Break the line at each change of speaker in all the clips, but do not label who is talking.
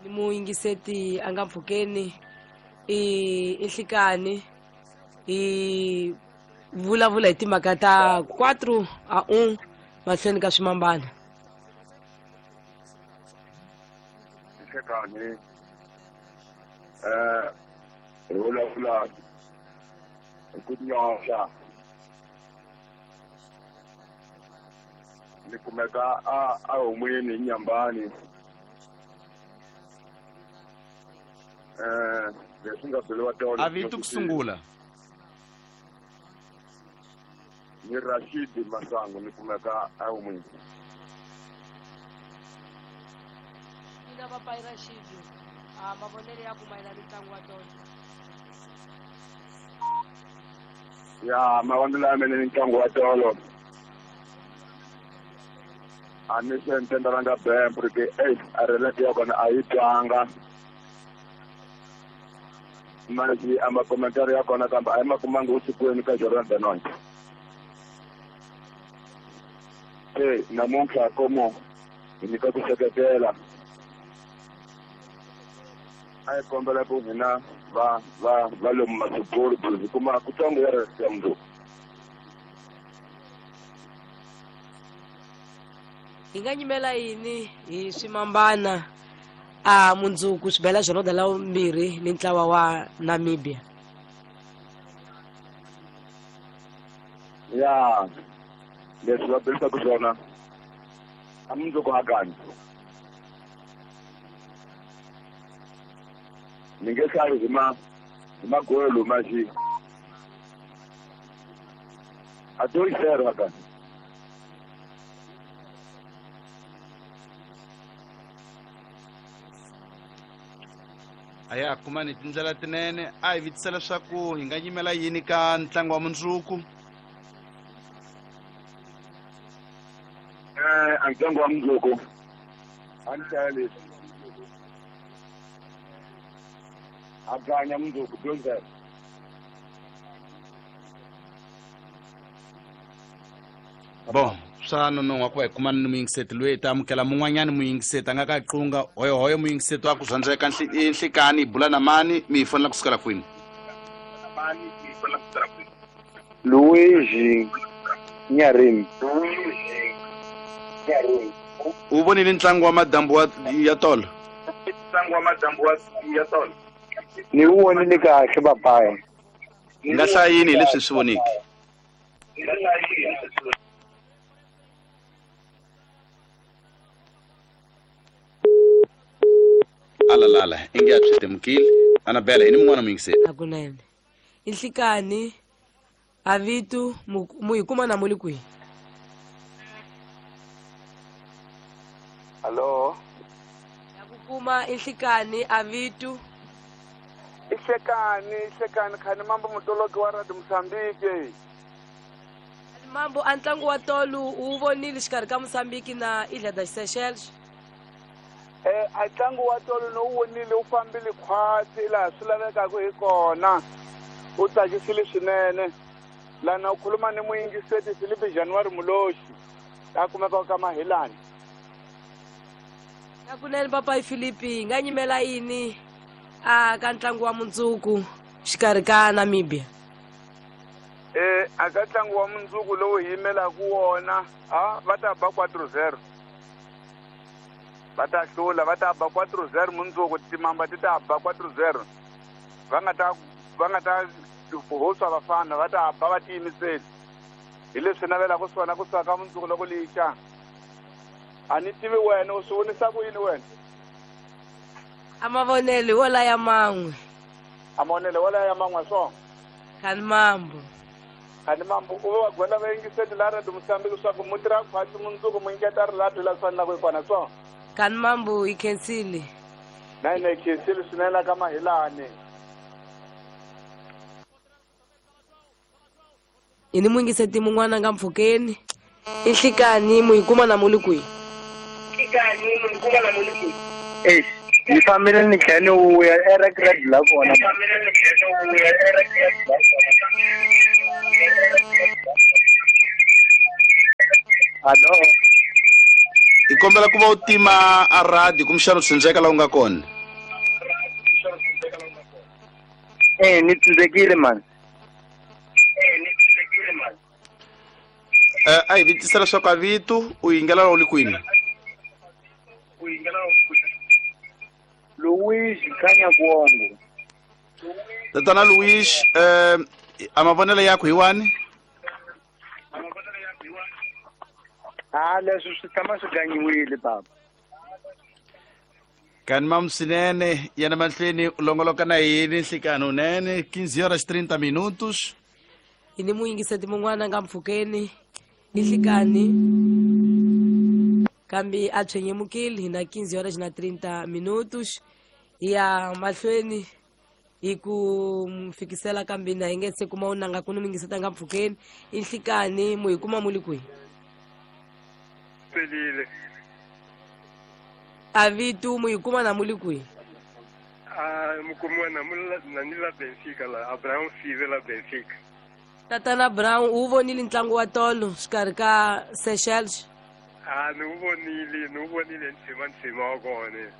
Ni muyingiseti a nga mpfhukeni i nhlikani hi vulavula hi timhaka ta 4-1 mahlweni ka swimambana.
Nhlikani hi vulavula hi ku nyoxa ni kumeka a homweni hi Nyambani. Leswi nga byeriwa tolo
a vito ku sungula
ni Rashid Masango ni kumeka a homweni.
Ina papai Rashid, a mavonelo ya ku mayelana ni ntlangu wa tolo.
Ya mavonelo ya mina ni ntlangu wa tolo a ni se ntendalanga bembu ri ke a relate ya kona a yi twanga masi a makomentari ya kona kambe a yi ma kumanga usikwini ka Jordan Benoit. Se namuntlha komo hi nyika ku seketela a hi kombela ku hina va va va lomu masiporo hi kuma kutsongo ya ya mundzuku.
Hi nga nyimela yini hi swimambana a mundzuku swi bela Joloda la 2 ni ntlawa wa Namibia?
Ya leswi va belisaka swona a mundzuku hakani ni nge hlayi hi ma hi magolo maxi a 2-0 hakani.
A ya kumani tindlela tinene a hi vitisa leswaku hi nga yimela yini ka ntlangu wa mundzuku.
A ntlangu wa mundzuku a ni hlaya leswi a ganya mundzuku 2-0.
Bon, swa nonohwa ku va hi kumana ni muyingiseti loyi hi ta amukela mun'wanyani muyingiseti a nga ka qunga hoyohoyo muyingiseti wa ku zwandzeka nhlikani hi bula na mani mi hi fonela kusukela kwini?
Luigi Nyarim.
U vonile ntlangu wa madambu ya tolo?
Ntlangu wa madambu ya tolo
ni wu vonile kahle papai.
Hi nga hlaya yini hi leswi swi voniki? Alalala inge a swi temukile. Anabela i ni mun'wana muyingiseri.
Hakunene i nhlikani a vito mu hi kuma na mu le kwihi?
Hallo,
ya ku kuma i nhlikani a vito.
I hlekani khani mambo mutoloki wa Radio Mozambique.
Mambo a ntlangu wa tolo u vonile xikarhi ka Mozambique na Ilha das Seychelles?
A ntlangu wa tolo no wu vonile wu fambile khwatsi laha swi lavekaka hi kona, wu tsakisile swinene. Lana u khuluma ni muyingiseti Filipe January Muloxi a kumekaka ka Mahilani.
Hakunene papai Filipe, hi nga nyimela yini a ka ntlangu wa mundzuku xikarhi ka Namibia?
A ka ntlangu wa mundzuku lowu hi yimelaka wona a va ta ba 4-0. Va ta hlula, va ta ba 4-0 mundzuku, timamba ti ta ba 4-0. Va nga ta hoswa vafana, va ta ba va tiyimiseli. Hi leswi navelaka swona ku suka ka mundzuku loko lixa. A ni tivi wena u swi vonisa ku yini wena?
A mavonelo wo laya man'we.
A mavonelo wo laya man'we swona.
Khani mambo.
Khani mambo u va gwela vayingiseti la Radio Mozambique leswaku mu tirha khwatsi mundzuku mu nyiketa rilato la swi fanelaka hi kona swona.
Khani mambo hi khensile.
Na hina hi khensile swinene ka Mahilani.
Hi ni muyingiseti mun'wana nga mpfhukeni i nhlikani mu hi kuma na mu le kwihi?
Ni fambile ni tlhela ni vuya erekredi la kona. Hallo.
Hi kombela ku va u tima a radio kumbexana u tshundzeka laha u nga kona.
Ni tshundzekile mani.
A hi vitisa leswaku a vito u yingela u li kwini?
Luis Khanya Kuongo.
Tatana Luis, a mavonelo yakho hi wani?
A leswi swi tshama swi ganyiwile baba.
Kani mam swinene yana mahlweni u longoloka na yini nhlikani unene 15 horas 30 minutos.
Hi ni muyingiseti mun'wana nga mpfhukeni i nhlikani kambe a tshwenyemukile hi na 15 horas na 30 minutos. Hi ya mahlweni hi ku fikisela kambe na hi nge se kuma unanga ku ni muyingiseti nga mpfhukeni i nhlikani mu hi kuma mu li kwihi?
Pelile.
A vito mu hi kuma na mu li kwihi?
A mukumiwa na ni la Benfica la Abraham Five la Benfica.
Tatana Brown u vonile ntlangu wa tolo xikarhi ka Seychelles?
A ni wu vonile ntshima wa kona.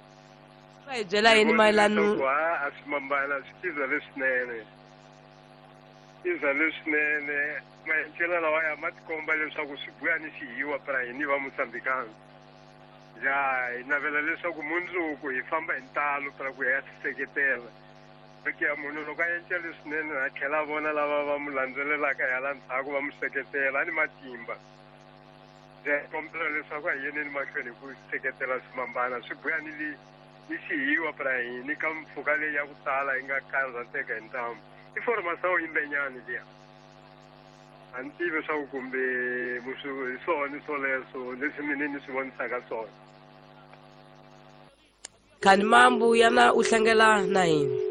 Va hi byela yini mayelana?
A swi mambana swi tiza leswinene. Tiza leswinene maendlelo lawa ya ma tikomba leswaku swi buya ni xihiwa pra hini va Mozambikana. Ya hi navela leswaku mundzuku hi famba hi ntalo pra ku ya seketela. Ya munhu loko a endla leswinene a tlhela a vona lava va mu landzelelaka hi hala ndzhaku va mu seketela a ni matimba. Ya kombela leswaku a hi yeneni mahlweni hi ku seketela swimambana swi buya ni ni xihiwa pra hini ka mpfhuka leyi ya ku tala yi nga karhateka hi ntamu. I formação imbenyani liya. A ni tivi leswaku kumbe hi swona swoleswo leswi mina ni swi vonisaka swona.
Khani mambu yana u hlangela na yini?